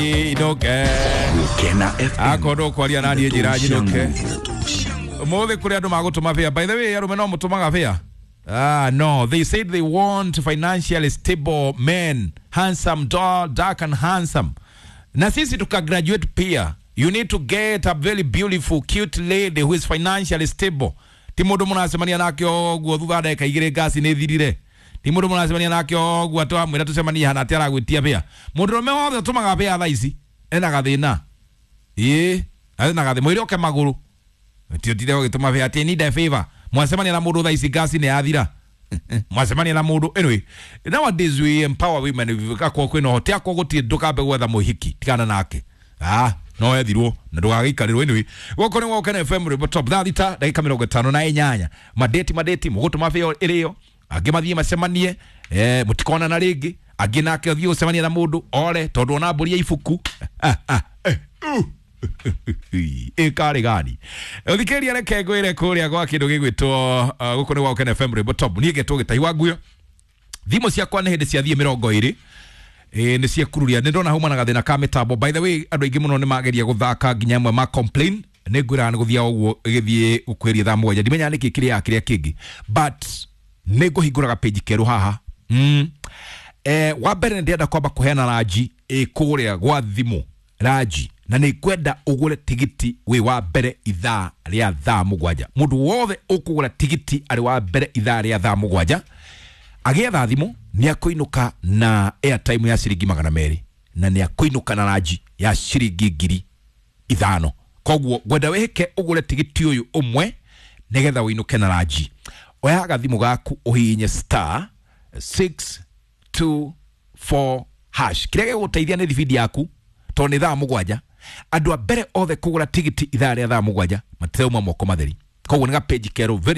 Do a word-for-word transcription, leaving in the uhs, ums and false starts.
Nyinũke. Gukena F M. Akorwo ndũkwaria naniĩ njĩra nyinũke. Ũmũthĩ kũrĩ andũ magũtũma bĩa. By the way, arũme no mũtũmaga bĩa? Ah, no, they said they want financially stable men, handsome, tall, dark and handsome. Na sisi tukagraduate pia. You need to get a very beautiful, cute lady who is financially stable. Ti mũndũ mũracemania nake ũguo thutha wa ndagĩka igĩrĩ ngasi nĩ thirire. Ti mũndũ mũracemania nake ũguo atĩ wamwĩra tũcemanie hana atĩ aragwĩtia bĩa. Mũndũrũme wothe ũtũmaga bĩa thaa ici ena gathĩna. Ĩĩ, ena gathĩna. Mwĩre oke magũrũ. Ti ũtinde ũgĩtũma bĩa atĩ need a favor. Mwacemania na mũndũ thaa ici ngasi nĩ yathira. Mwacemania na mũndũ. Anyway, nowadays we empower women. Akorwo kwĩna ũhoti, akorwo gũtirĩ ndũkambe gwetha mũhiki, tigana nake. Ah, no ethirwo na ndũgagĩikarĩrwo. Anyway, gũkũ nĩ Gũkena F M rwĩmbo top thaa thita ndagĩka mĩrongo ĩtano na inyanya. Madeti madeti mũgũtũma bĩa ĩrĩo, angĩ mathiĩ macemanie, eh, mũtikonana rĩngĩ, angĩ nake athiĩ gũcemania na mũndũ ore tondũ ona mbũri ya ibuku. Ah, ah, eh, uh. Ĩkarĩ gani ũthikĩrĩria, reke ngwĩre kũrĩa gwa kĩndũ gĩgwĩtwo uh, gũkũ nĩ Gũkena F M rwĩmbo top. Niĩ ngetwo Gĩtahi wa Nguyo. Thimũ ciakwa nĩ hĩndĩ ciathiĩ mĩrongo ĩrĩ ĩ nĩ ciekururia. Nĩ ndona hauma na gathĩna ka mĩtambo. By the way, andũ aingĩ mũno nĩ mageria gũthaka nginya amwe ma complain. Nĩ ngwĩraga nĩ gũthiaga ũguo ĩgĩthiĩ gũkwĩria thaa mũgwanja, ndimenyaga nĩkĩ kĩrĩa kĩrĩa kĩngĩ, but nĩ ngũhingũraga page kerũ haha. mm. eh, wa mbere nĩ ndĩrenda kwamba kũheana ranji ĩ kũrĩa gwa thimũ ranji, na nĩ ngwenda ũgũre tigiti wĩ wa mbere ithaa rĩa thaa mũgwanja. Mũndũ wothe ũkũgũra tigiti arĩ wa mbere ithaa rĩa thaa mũgwanja agĩetha thimũ nĩ akũinũka na airtime ya ciringi magana merĩ na nĩ akũinũka na ranji ya ciringi ngiri ithano. Koguo ngwenda wĩhĩke ũgũre tigiti ũyũ ũmwe nĩgetha ũinũke na ranji. Oya gathimũ gaku ũhihinye star six two four hash. Kĩrĩa gĩgũteithia nĩ thibindi yaku tondũ nĩ thaa mũgwanja. Andũ a mbere othe kũgũra tigiti ithaa rĩa thaa mũgwanja matirauma moko matheri. Koguo nĩ ga page kerũ very